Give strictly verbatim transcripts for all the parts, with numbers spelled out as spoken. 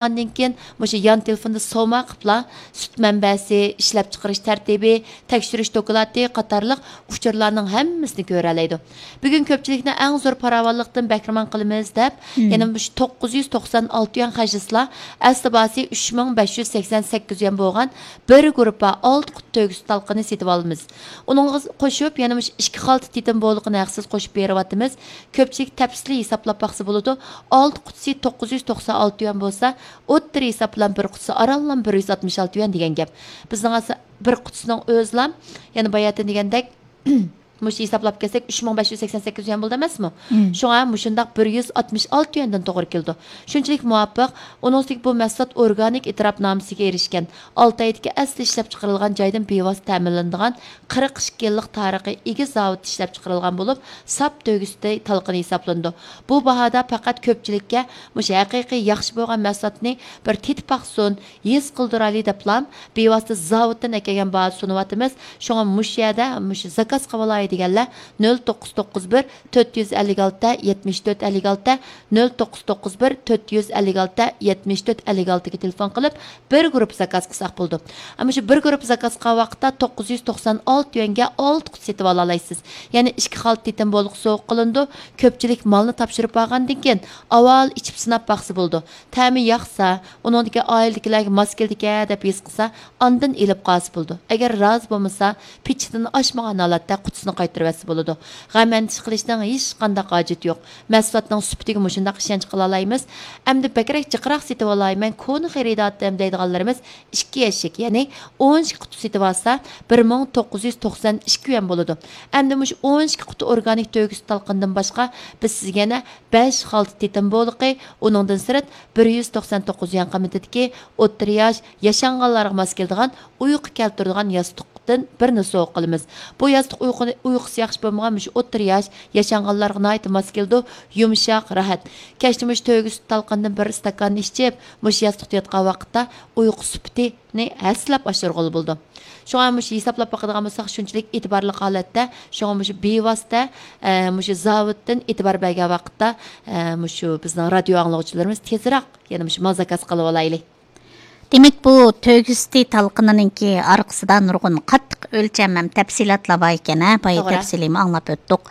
ئاندىن كېيىن مۇشۇ يان تېلېفوندا سوما قىلىپلا سۈت مەنبەسى، ئىشلەپچىقىرىش تەرتىپى، تەكشۈرۈش دوكلاتى قاتارلىق ئۇچۇرلارنىڭ ھەممىسىنى كۆرەلەيدۇ. بۈگۈن كۆپچىلىكنى ئەڭ زور پاراۋانلىقتىن بەھرىمەن قىلىمىز دەپ، يەنە مۇشۇ توققۇز يۈز توقسان ئالتە يۈەن خەجلىسىلا، ئەسلى باھاسى ئۈچ مىڭ بەش يۈز سەكسەن سەككىز يۈەن بولغان بىر گۇرۇپپا ئالتە قۇت تۆگە سۈت تالقىنى سېتىۋالىمىز. ئۇنىڭغا قوشۇپ، يەنە مۇشۇ ئىككى خالتا تېتىم بولىقىنى ھەقسىز قوشۇپ بېرىۋاتىمىز. كۆپچىلىك تەپسىلىي ھېسابلاپ باقسا بولىدۇ. ئالتە قۇتىسى توققۇز يۈز توقسان ئالتە يۈەن بولسا، ئوتتۇرا ھېساب بىلەن بىر قۇتىسى ئارانلا بىر يۈز ئاتمىش ئالتە يۈەن دېگەن گەپ. بىزنىڭ ئھازىر بىر قۇتىسىنىڭ ئۆزىلا، يەنە باياتىن دېگەندەك، مۇشۇ ھېسابلاپ كەلسەك، ئۈچ مىڭ بەش يۈز سەكسەن سەككىز يۈەن بولدى ئەمەسمۇ؟ شۇڭا مۇشۇنداق بىر يۈز ئاتمىش ئالتە يۈەندىن توغرا كېلىدۇ. شۇنچىلىك مۇۋاپىق. ئۇنىڭ ئۈستىگە بۇ مەھسۇلات ئورگانىك ئېتىراپنامىسىگە ئېرىشكەن، ئالتايدىكى ئەسلى ئىشلەپچىقىرىلغان جايدىن بىۋاسىتە تەمىنلىنىدىغان قىرىق ئىككى يىللىق تارىخى ئىگە زاۋۇتتا ئىشلەپچىقىرىلغان بولۇپ، ساپ تۆگە سۈتى تالقىنى ھېسابلىنىدۇ. بۇ باھادا پەقەت كۆپچىلىككە مۇشۇ ھەقىقىي ياخشى بولغان مەھسۇلاتنى بىر تېتىپ باقسۇن، ھېس قىلدۇرايلى دەپلا بىۋاسىتە زاۋۇتتىن ئەكەلگەن باھادا سۇنۇۋاتىمىز. شۇڭا مۇشۇ يەردە مۇشۇ زاكاز قىلىۋالاي دېگەنلەر نۆل توققۇز توققۇز بىر تۆت يۈز ئەللىك ئالتە يەتمىش تۆت ئەللىك ئالتە، نۆل توققۇز توققۇز بىر تۆت يۈز ئەللىك ئالتە يەتمىش تۆت ئەللىك ئالتىگە تېلېفون قىلىپ، بىر گۇرۇپپا زاكاز قىلساق بولىدۇ. ئەمما شۇ بىر گۇرۇپپا زاكاز قىلغان ۋاقىتتا توققۇز يۈز توقسان ئالتە يۈەنگە ئالتە قۇت سېتىپ ئالالايسىز. يەنى ئىككى خالتا تېتىم بولىقى سوۋغا قىلىنىدۇ. كۆپچىلىك مالنى تاپشۇرۇپ بارغاندىن كېيىن ئاۋۋال ئىچىپ سىناپ باقسا بولىدۇ. تەمى ياقسا، ئۇنىڭدىكى ئائىلىدىكىلەرگە ماس كېلىدىكەن دەپ ھېس قىلسا، ئاندىن ئېلىپ قالسا بولىدۇ. ئەگەر رازى بولمىسا، پىچىدىن ئاشمىغان ھالەتتە قۇتىسىنى قايتۇرۇۋەتسە بولىدۇ. غەم ئەندىشە قىلىشنىڭ ھېچقانداق ھاجىتى يوق. مەھسۇلاتنىڭ سۈپىتىگە مۇشۇنداق ئىشەنچ قىلالايمىز. ئەمدى بەكرەك جىقراق سېتىۋالاي، مەن كونا خېرىدار ئەتتىم دەيدىغانلىرىمىز ئىككى يەشىك، يەنى ئون ئىككى قۇتى سېتىۋالسا، بىر مىڭ توققۇز يۈز توقسان ئىككى يۈەن بولىدۇ. ئەمدى مۇشۇ ئون ئىككى قۇتى ئورگانىك تۆگە سۈت تالقىنىدىن باشقا، بىز سىزگە يەنە بەش خالتا تېتىم بولىقى، ئۇنىڭدىن سىرت، بىر يۈز توقسان توققۇز يۈەن قىممىتىدىكى ئوتتۇرا ياش، ياشانغانلارغا ماس كېلىدىغان، ئۇيقۇ كەلتۈرىدىغان ياستۇقتىن بىرنى سوۋغا قىلىمىز. بۇ ياستۇق ئۇيقۇنى، ئۇيقۇسى ياخشى بولمىغان مۇشۇ ئوتتۇرا ياش، ياشانغانلارغا ناھايىتى ماس كېلىدۇ، يۇمشاق، راھەت. كەچتە مۇشۇ تۆگە سۈت تالقىنىدىن بىر ئىستاكاننى ئىچىپ، مۇشۇ ياستۇقتا ياتقان ۋاقىتتا ئۇيقۇ سۈپىتىنى ھەسسىلەپ ئاشۇرغىلى بولىدۇ. شۇڭا مۇشۇ ھېسابلاپ باقىدىغان بولساق، شۇنچىلىك ئېتىبارلىق ھالەتتە، شۇڭا مۇشۇ بىۋاسىتە، ئە، مۇشۇ زاۋۇتتىن ئېتىبار بەرگەن ۋاقىتتا، ئە، مۇشۇ بىزنىڭ رادىيو ئاڭلىغۇچىلىرىمىز تېزراق يەنە مۇشۇ مال زاكاز قىلىۋالايلى. دېمەك، بۇ تۆگە سۈتى تالقىنىنىڭكى ئارقىسىدا نۇرغۇن قاتتىق ئۆلچەم ھەم تەپسىلاتلار بار ئىكەن، ھە؟ بايا توغرا. تەپسىلىيمۇ ئاڭلاپ ئۆتتۇق.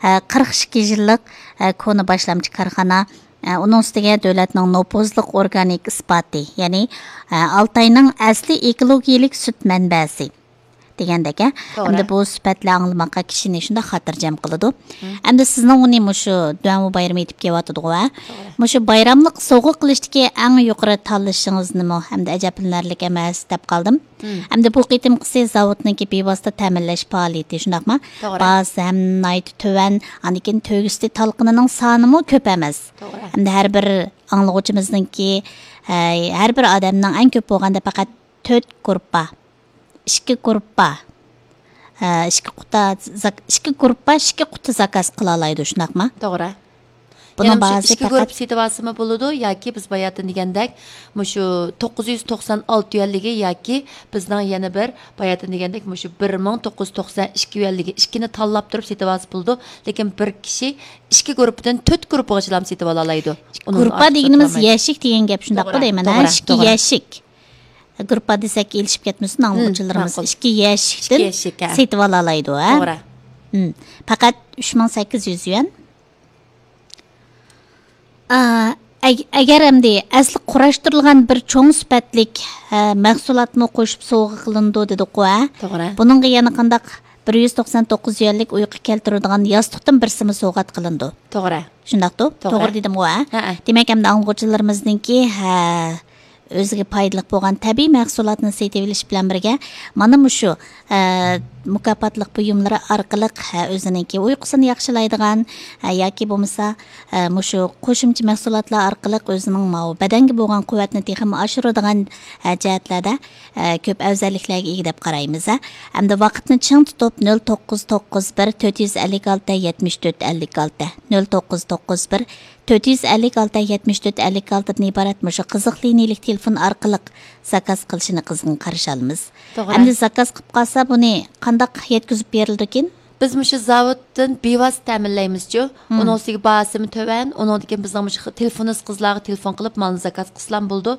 ئە، قىرىق ئىككى يىللىق، ئە، كونا باشلامچى كارخانا، ئە، ئۇنىڭ ئۈستىگە دۆلەتنىڭ نوپۇزلۇق ئورگانىك ئىسپاتى، يەنى، ئە، ئالتاينىڭ ئەسلى ئېكولوگىيىلىك سۈت مەنبەسى دېگەندەك، ھە؟ توغرا. ئەمدى بۇ سۈپەتلەر ئاڭلىماققا كىشىنى شۇنداق خاتىرجەم قىلىدۇ. مم. ئەمدى سىزنىڭ ئۇنى مۇشۇ دۇەنۋۇ بايرىمى يېتىپ كېلىۋاتىدىغۇ، ھە؟ توغرا. مۇشۇ بايراملىق سوۋغا قىلىشتىكى ئەڭ يۇقىرى تاللىشىڭىز نېمە؟ ئەمدى ئەجەبلىنەرلىك ئەمەس دەپ قالدىم. مم. ئەمدى بۇ قېتىمقىسى زاۋۇتنىڭكى بىۋاسىتە تەمىنلەش پائالىيىتى، شۇنداقمۇ؟ توغرا. باھاسى ھەم ناھايىتى تۆۋەن، ئاندىن كېيىن تۆگە سۈتى تالقىنىنىڭ سانىمۇ كۆپ ئەمەس. توغرا. ئەمدى ھەر بىر ئاڭلىغۇچىمىزنىڭكى، ھە، ھەر بىر ئادەمنىڭ ئەڭ كۆپ بولغاندا پەقەت تۆت گۇرۇپپا، ئىككى گۇرۇپپا، ھە، ئىككى قۇتا زاك-، ئىككى گۇرۇپپا، ئىككى قۇتا زاكاز قىلالايدۇ، شۇنداقمۇ؟ توغرا. بۇنىڭ يەنە مۇشۇ باھاسى ئىككى گۇرۇپپا سېتىۋالسىمۇ بولىدۇ ياكى بىز باياتىن دېگەندەك مۇشۇ توققۇز يۈز توقسان ئالتە يۈەنلىكى ياكى بىزنىڭ يەنە بىر باياتىن دېگەندەك مۇشۇ بىر مىڭ توققۇز يۈز توقسان ئىككى يۈەنلىكى ئىككىنى تاللاپ تۇرۇپ سېتىۋالسا بولىدۇ. لېكىن بىر كىشى ئىككى گۇرۇپپىدىن تۆت گۇرۇپپىغىچىلا سېتىۋالالايدۇ. ئۇنىڭدىن گۇرۇپپا ئارتۇق دېگىنىمىز سېتىۋالمايدۇ. يەشىك دېگەن گەپ، شۇنداققۇ توغرا، دەيمەن، ھە؟ توغرا، ئىككى توغرا. يەشىك. گۇرۇپپا دېسەك ئېلىشىپ كەتمىسۇن ئاڭلىغۇچىلىرىمىز. مم، ماقۇل. ئىككى يەشىكتىن ئىككى يەشىك، ھە. سېتىۋالالايدۇ، ھە؟ توغرا. مم. پەقەت ئۈچ مىڭ سەككىز يۈز يۈەن. ئا، ئەگ-، ئەگەر ئەمدى ئەسلى قۇراشتۇرۇلغان بىر چوڭ سۈپەتلىك، ھە، مەھسۇلاتمۇ قوشۇپ سوۋغا قىلىنىدۇ دېدۇققۇ، ھە؟ توغرا. بۇنىڭغا يەنە قانداق بىر يۈز توقسان توققۇز يۈەنلىك ئۇيقۇ كەلتۈرىدىغان ياستۇقتىن بىرسىمۇ سوۋغات قىلىنىدۇ. توغرا. شۇنداقتۇ؟ توغرا. توغرا دېدىمغۇ، ھە؟ ھەئە. دېمەك، ئەمدى ئاڭلىغۇچىلىرىمىزنىڭكى، ھە، ئۆزىگە پايدىلىق بولغان تەبىئىي مەھسۇلاتنى سېتىۋېلىش بىلەن بىرگە، مانا مۇشۇ، ئە، مۇكاپاتلىق بۇيۇملىرى ئارقىلىق، ھە، ئۆزىنىڭكى ئۇيقۇسىنى ياخشىلايدىغان، ھە، ياكى بولمىسا، ئە، مۇشۇ قوشۇمچە مەھسۇلاتلار ئارقىلىق ئۆزىنىڭ ماۋۇ بەدەنگە بولغان قۇۋۋەتنى تېخىمۇ ئاشۇرىدىغان، ھە، جەھەتلەردە، ئە، كۆپ ئەۋزەللىكلەرگە ئىگە دەپ قارايمىز، ھە. ئەمدى ۋاقىتنى چىڭ تۇتۇپ، نۆل توققۇز توققۇز بىر تۆت يۈز ئەللىك ئالتە يەتمىش تۆت ئەللىك ئالتە، نۆل توققۇز توققۇز بىر تۆت يۈز ئەللىك ئالتە يەتمىش تۆت ئەللىك ئالتىدىن ئىبارەت مۇشۇ قىزىق لىنىيىلىك تېلېفون ئارقىلىق زاكاز قىلىشىنى قىزغىن قارشى ئالىمىز. توغرا. ئەمدى زاكاز قىلىپ قالسا، بۇنى قانداق يەتكۈزۈپ بېرىلىدىكىن؟ بىز مۇشۇ زاۋۇتتىن بىۋاسىتە تەمىنلەيمىزچۇ. ئۇنىڭ ئۈستىگە باھاسىمۇ تۆۋەن. ئۇنىڭدىن كېيىن بىزنىڭ مۇشۇ تېلېفونىست قىزلارغا تېلېفون قىلىپ، مالنى زاكاز قىلسىلام بولىدۇ.